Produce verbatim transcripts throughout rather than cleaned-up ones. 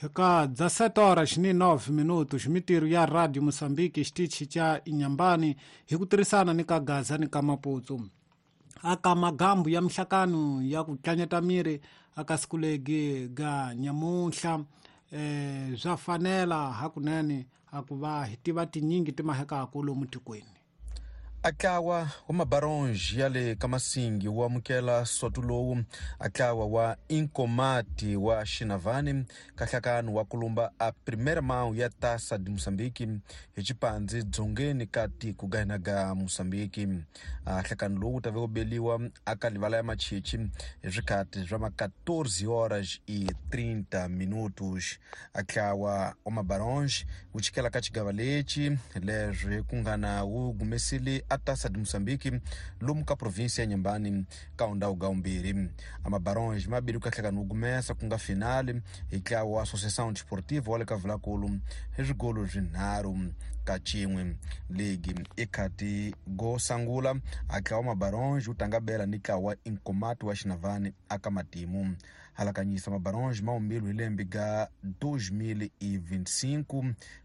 Ka dezessete horas ni nove minutos mitirho ya Radio Moçambique xitichi xa Inhambane hi ku tirhisana ni ka Gaza ni ka Maputo aka magambu ya mihlakano ya ku tlanyeta miri aka sikulegi ga nyamuhla eh swa fanela hakunene akuva hi tiva tinyingi timahekaku lomu tikweni. Atlawa wa Mabaronge ya le ka Masingi wu amukela soto lowu atlawa wa Inkomati wa Xinavane kahlakano wa kulumba a primeira mão ya Taça de Moçambique hi xipandzi dzongeni ka tiko ga hina ga Moçambique. Nhlakano lowu wu ta ve wu beliwa aka livala ya Machichi hi swikhati swa ma quatorze horas e trinta minutos. Atlawa wa Mabaronge wu chikela ka xigava lexi leswi ku nga na wu gumesile a Taça de Moçambique lomu ka província ya Inhambane ka undhawu ga umbirhi. Amabaronge mabili ku kahlekana wu gumesa ku nga finale hi ntlawa wa Associação Desportiva wa le ka Vulakulu hi swigolo swinharhu ka xin'we. Ligi i khati go sangula a ntlawa wa Mabaronge wu tanga bela ni ntlawa wa Inkomati wa Xinavane aka matimu. Halakanyisa Mabaronge ma umbilu hi lembe ga dois mil e vinte e cinco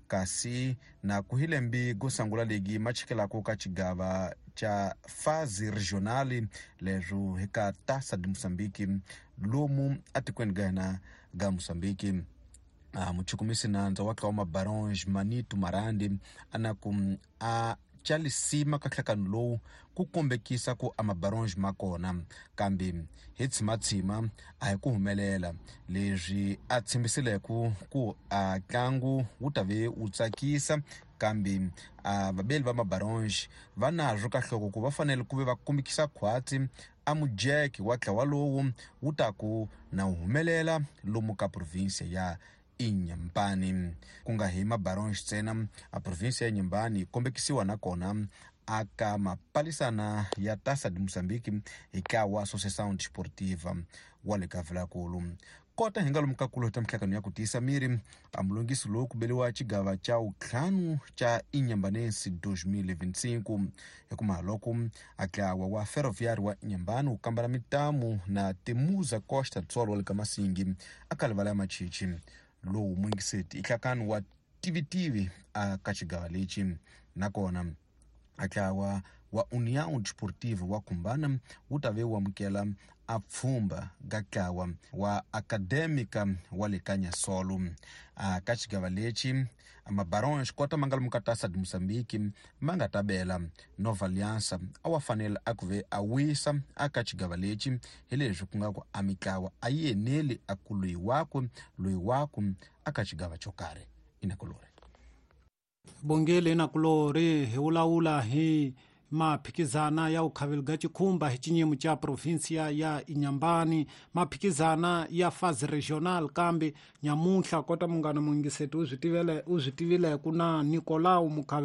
kasi na ku hi lembe go sangula ligi ma chikelako ka xigava xa fase regional leswo hi ka Taça de Moçambique lomu atikweni ga hina ga Moçambique. Ah, muchukumisi nandza wa ntlawa wa Mabaronge Manito Marandi ana ku a chalisima ka nhlakano lowu ku kombekisa ku amabaronge ma kona kambe hi tshimatshima a hi ku humelela leswi a tshembisileke ku a ntlangu wu ta ve wu tsakisa kambe a vabeli va Mabaronge va nazwo ka nhloko ku va fanele ku ve va kombekisa khwatsi a mujeke wa ntlawa lowu wu ta ku na wu humelela lomu ka provinsia ya Inhambane. Ku nga hi Mabaronge ntsena a provinsia ya Inhambane yi kombekisiwa nakona aka mapalisana ya Taça de Moçambique hi ntlawa wa Associação Desportiva wa le ka Vulakulu. Kota hi nga lomu ka kulo ta mihlakano ya ku tiyisa miri a mulungisi lowu ku beliwa xigava xa wuntlhanu xa Inhambanense dois mil e vinte e cinco hi kuma loko a ntlawa wa Ferroviário wa Inhambane wu kambela mitamu na Temuza Costa do Sol wa le ka Masingi aka livala ya Machichi lowu mungiseti i nhlakano wa tivitivi aka xigava lexi. Nakona a ntlawa wa União Desportiva wa Kumbana wu ta ve wu amukela a pfhumba ga ntlawa wa Acadêmica wa le ka Nyasolo. A ka xigava lexi Mabaronge kota ma nga lomu ka Taça de Moçambique ma nga ta bela Nova Aliança a wa fanele a ku ve a wisa aka xigava lexi hi leswi ku nga ku a mitlawa a yi eneli a ku loyi wakwe loyi wakwe aka xigava xo karhi. Inakulori Bongele inakulori hi vulavula hi maphikizana ya ukhavelo ga xikhumba hi xinyimo xa provinsia ya Inhambane maphikizana ya fase regional kambe nyamuhla kota munghana mungiseti u swi tivele u swi tivile ku na Nicolau Mukhavelo.